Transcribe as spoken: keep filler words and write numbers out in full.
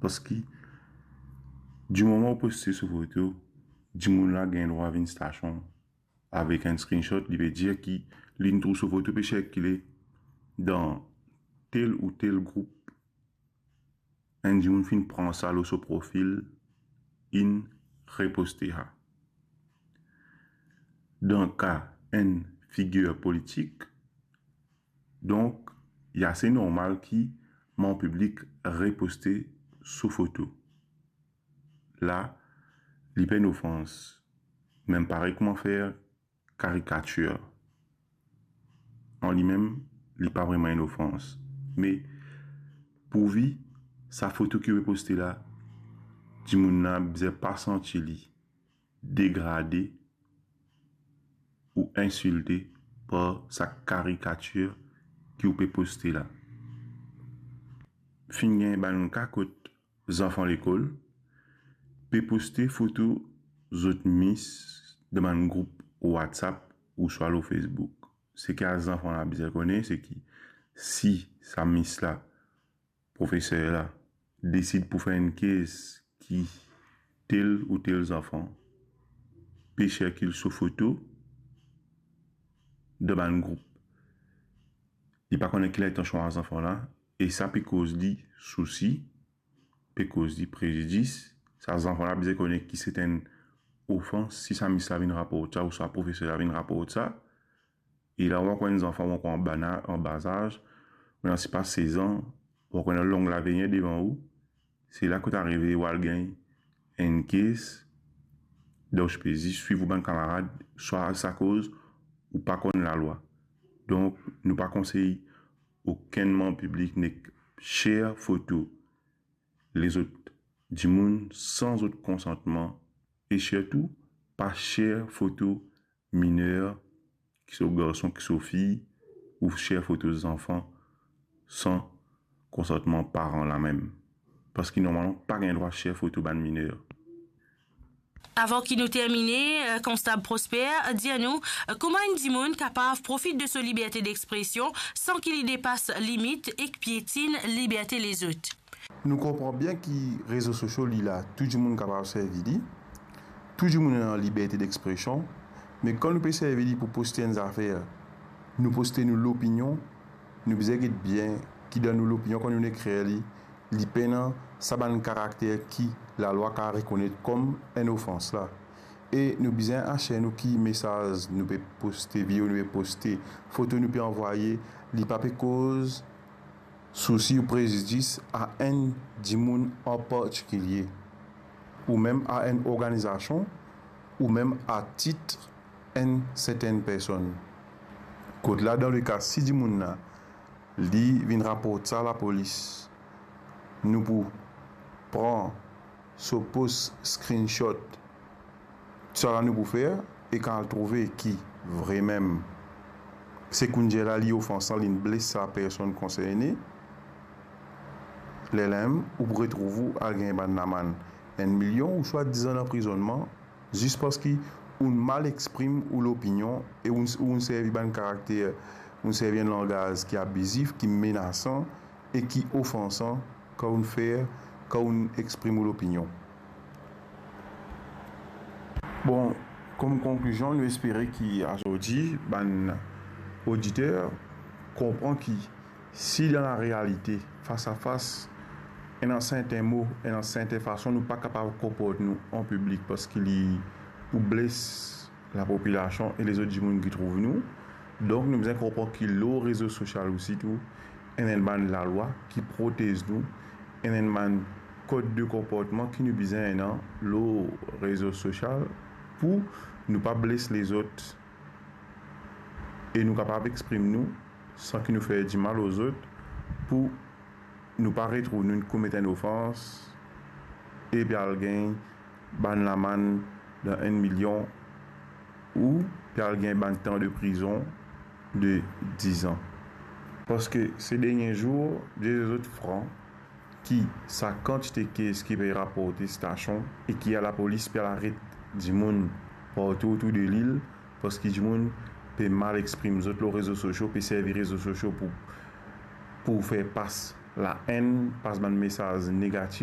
Parski dimoman ou poste so foto, dimoun la gagn drwa vinn stasion avek enn screenshot, li ve dir ki li inn trouv so foto pe sirkile dan tel ou tel group. Enn dimoun finn pran sa lor so profil, inn reposte sa. Dan ka enn figir politik, donk, li ase normal ki manm piblik reposte so foto. La, li pa enn ofans, mem parey kouma fer karikatir. An limem, li pa vreman enn ofans. Me pourvi sa foto ki ou pe poste la, dimoun la bizin pa santi li degrade ou insilte par sa karikatir ki ou pe poste la. Finn gagn bann ka kot zanfan lekol pe poste foto zot mis dan bann group WhatsApp ouswa lor Facebook. Seki sa zanfan la bizin kone, seki si sa mis la, profeser la, desid pou fer enn kes ki tel ou tel zanfan pe sirkil so foto dan bann group, li pa kone ki lintansion sa zanfan la, e sa pe koz li sousi, pe koz li prezidis. Sa zanfan la bizin kone ki se enn ofans si sa mis la vinn raport sa ouswa profeser la vinn raport sa. E la ou ankor enn zanfan, ou ankor an bana-, an bazaz, ou ena sipa sez an, ou ankor ena long lavenir devan ou. Se la kot arive ou al gagn enn kes, donk ou pe zis swiv ou bann kamarad, swa akoz ou pa konn lalwa. Donk, nou pa konsey okenn manm piblik nek share foto lezot dimoun san zot konsantman, e sirtou pa share foto miner, ki so garson, ki so fi, ou share foto zanfan san konsantman paran la mem. Parski normalman pa gagn drwa share foto bann miner. Avan ki nou termine, eh, Konstab Prosper, dir nou, eh, kouma enn dimoun kapav profit de so liberte dexpresion san ki li depas limit ek pietinn liberte lezot? Nou konpran bien ki rezo sosio li la, tou dimoun kapav servi li, tou dimoun ena liberte dexpresion, me kan nou pe servi li pou poste enn zafer, nou poste nou lopinion, nou bizin get bien ki dan nou lopinion, kan nou ekrir li, li pena sa bann karakter ki lalwa kapav rekonet kom enn ofans la. E nou bizin asir nou ki mesaz nou pe poste, video nou pe poste, foto nou pe anvwaye, li pa pe koz sousi ou prezidis a enn dimoun an partikilie, ou mem a enn organizasion, ou mem a tit enn sertenn personn. Kot la, dan leka si dimoun la, li vinn raport sa lapolis, nou pou pran so post screenshot, Sa la nou pou fer, e kan al trouve ki vremem se koundiela li ofansan, linn bles sa personn konserne, lerla mem ou pou retrouv ou al gagn bann lamann enn milion ouswa diz an anprizonnman, zis parski ou'nn mal exprim ou lopinion e ou'nn, ou'nn servi bann karakter, ou'nn servi enn langaz ki abizif, ki menasan e ki ofansan kan ou'nn fer, kan ou'nn exprim ou lopinion. Bon, kom konklizion, nou espere ki azordi bann oditer konpran ki si dan larealite, fas a fas, ena serten mo, ena serten fason, nou pa kapav konport nou an piblik parski li pou bles lapopilasion e lezot dimoun ki trouv nou. Donk, nou bizin konpran ki lor rezo sosial osi tou, ena enn bann lalwa ki protez nou, ena enn bann kod de konportman ki nou bizin ena lor rezo sosial pou nou pa bles lezot e nou kapav exprim nou san ki nou fer dimal lor zot, pou nou pa retrouv nou komet enn ofans e pe al gagn bann lamann dan enn milion ou pe al gagn bann tan de prizon de diz an. Parski se dernie zour, dir zot fran, ki sa kantite kes ki pe raporte stasion e ki a lapolis pe al aret dimoun partou otour de lil, parski dimoun pe mal exprim zot lor rezo sosio, pe servi rezo sosio pou, pou fer pas laenn, pas bann mesaz negatif,